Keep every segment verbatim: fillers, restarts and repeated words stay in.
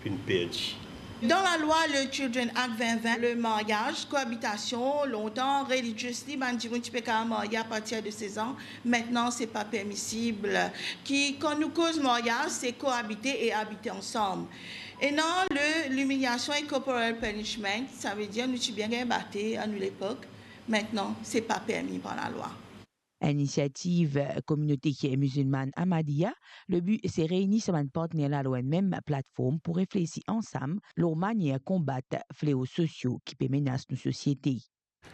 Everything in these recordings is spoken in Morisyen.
Finn perdi. Dan lalwa, le Children Act vin vin, le maryaz, koabitasion, lontan, religiously, bann dimoun ti pe kapav marye apartir de sez an, mintnan se pa permisib. Ki, kan nou koz maryaz, se koabite e abite ansam. Ena le, limiliasion e corporal punishment, savedir nou ti bien gagn bate a nou lepok, mintnan se pa permi par lalwa. Enn inisiativ kominote mizilmann Ahmadiyya, le bi se reyni sa bann partner la lor enn mem platform pou reflesi ansam lor manier konbat fleo sosio ki pe menas nou sosiete.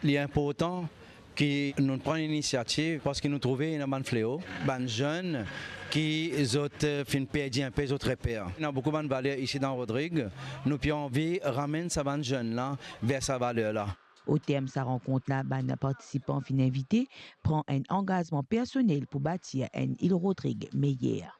Li inportan ki nou pran inisiativ parski nou trouve ena bann fleo, bann zenn ki zot, eh, finn perdi inpe zot reper. Ena boukou bann valer isi dan Rodrig, nou pe anvi ramenn sa bann zenn la ver sa valer la. O term sa rankont la, bann partisipan finn invite pran enn angazman personel pou batir enn Ile Rodrig meyer.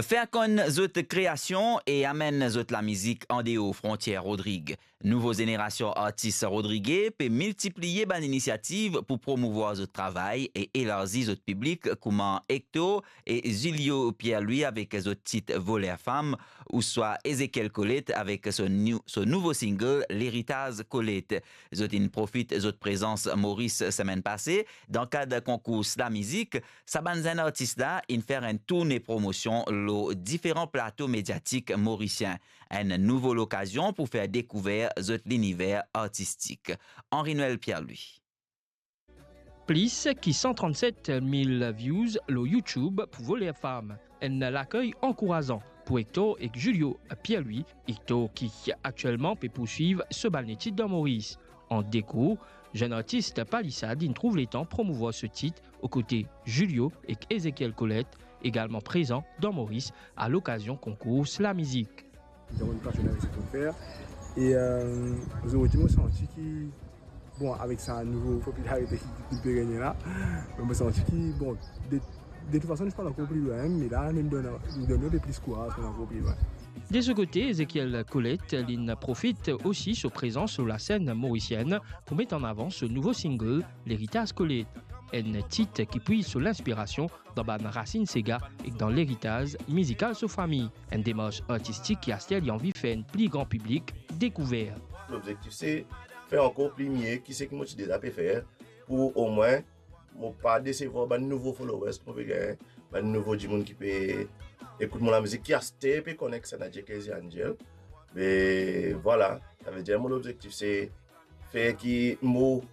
Fer konn zot kreasion e amenn zot lamizik andeor frontier Rodrig. Nouvo zenerasion artis rodrige pe miltipliye bann inisiativ pou promouvwar zot travay e elarzi zot piblik, kouma Hector e Julio Pierre-Louis avek zot tit Voler Fam, ouswa Ezekiel Colette avek so nou-, so nouvo single Leritaz Colette. Zot inn profit zot prezans Moris semenn pase dan kad konkour Slam Mizik. Sa bann zenn artis la inn fer enn tourne promosion lor diferan plato mediatik morisien. Enn nouvo lokazion pou fer dekouver zot liniver artistik. Henri Noël Pierre-Louis. Plis ki san trannset mil views lor YouTube pou Voler Fam. Enn lakey ankourazan pou Hector ek Julio Pierre-Louis. Hector ki aktielman pe pourswiv so bann letid dan Moris. An dekour, zenn artis Palisade inn trouv letan promouvwar so tit, okote Julio ek Ezekiel Colette, egalman prezan dan Moris a lokazion konkour Slam Mizik. Donk, nou pasion avek sa ki nou fer. E, euh, zordi, mo santi ki, bon, avek sa nouvo popilarite ki, ki pe regne la, mo santi ki, bon, de, de tout fason, nou pa ankor pli lwin, me la, nou donn, nou donn nou de plis kouraz pou nou ankor pli lwin. De so kote, Ezekiel Colette, li'nn profit osi so prezans lor lasenn morisienn pou met an avan so nouvo single, Leritaz Colette, enn tit ki pwiz so linspirasion dan bann rasinn sega ek dan leritaz mizikal so fami. Enn demars artistik ki aster li anvi fer enn pli gran piblik dekouver. Lobzektif se fer ankor pli mie ki seki mo ti deza pe fer, pou omwin mo pa desevwar bann nouvo followers ki mo pe gagn, bann nouvo dimoun ki pe ekout mo lamizik, ki aster pe konn ek Saint Nadie Crazy Angel. Me vwala, savedir mo lobzektif se fer ki mo,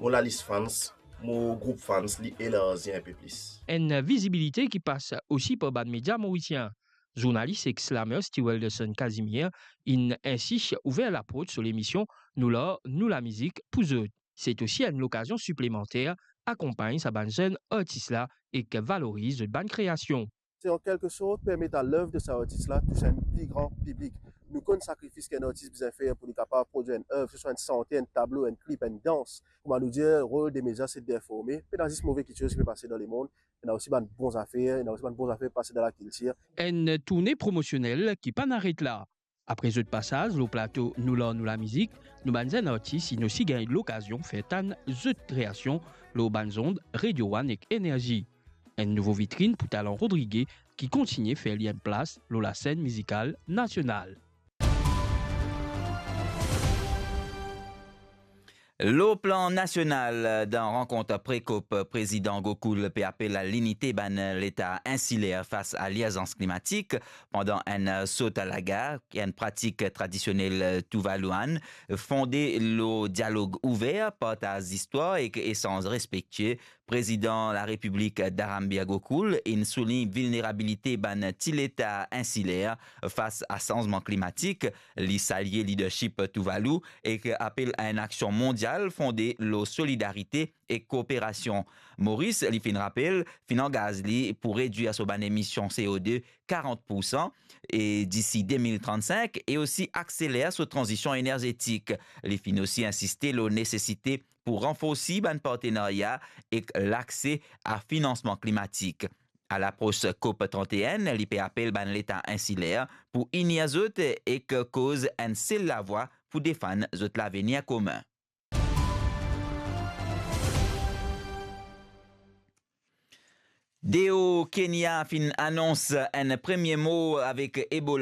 mo lalis fans, mo group fans, li elarzi inpe plis. Enn vizibilite ki pas osi par bann media morisien. Zournalis ek slammer Steve Welderson Casimir inn insi ouver laporte so lemision Nou Lar Nou Lamizik pou zot. Se osi enn lokazion siplemanter akonpagn sa bann zenn artis la ek valoriz zot bann kreasion. Se an kelke sort permet a lev de sa artis la tous enn pli gran piblik. Nou konn sakrifis ki enn artis bizin fer pou li kapav prodwir enn ev, swa enn sante, enn tablo, enn klip, enn dans. Kouma nou dir, rol de media se d'informe. Pena zis move kiksoz ki pe pase dan lemond, ena osi bann bon zafer, ena osi bann bon zafer pase dan lakiltir. Enn tourne promosionel ki pa'nn aret la. Apre zot pasaz lor plato Nou Lar Nou Lamizik, nou bann zenn artis inn osi gagn lokazion fer tann zot kreasion lor bann zond Radio One ek Energie. Enn nouvo vitrinn pou talan rodrige ki kontigne fer li enn plas lor lasenn mizikal nasional. Lor plan nasional, dan rankont pre-COP, Prezidan Gokul pe apel a linite bann leta insiler fas a lirzans klimatik pandan enn sot a lagar, enn pratik tradisionel Tuvaluan, fonde lor dialog ouver, partaz zistwar ek esanz respektie. Prezidan Larepiblik Dharambir Gokul inn soulign vilnerabilite bann ti leta insiler fas a sanzman klimatik. Li salye lidersip Tuvalu ek apel a enn aksion mondial fonde lor solidarite ek kooperasion. Moris, li finn rapel, finn angaz li pou redwir so bann emision C O deux karant poursan e disi de mil trannsink e osi akseler so tranzision enerzetik. Li finn osi insiste lor nesesite pou ranforsi bann partenarya ek lakse a finansman klimatik. A lapros COP trente et un, li pe apel bann leta insiler pou inir zot ek koz enn sel lavwa pou defann zot lavenir komin. D O Kenya finn anons enn premie mor avek Ebola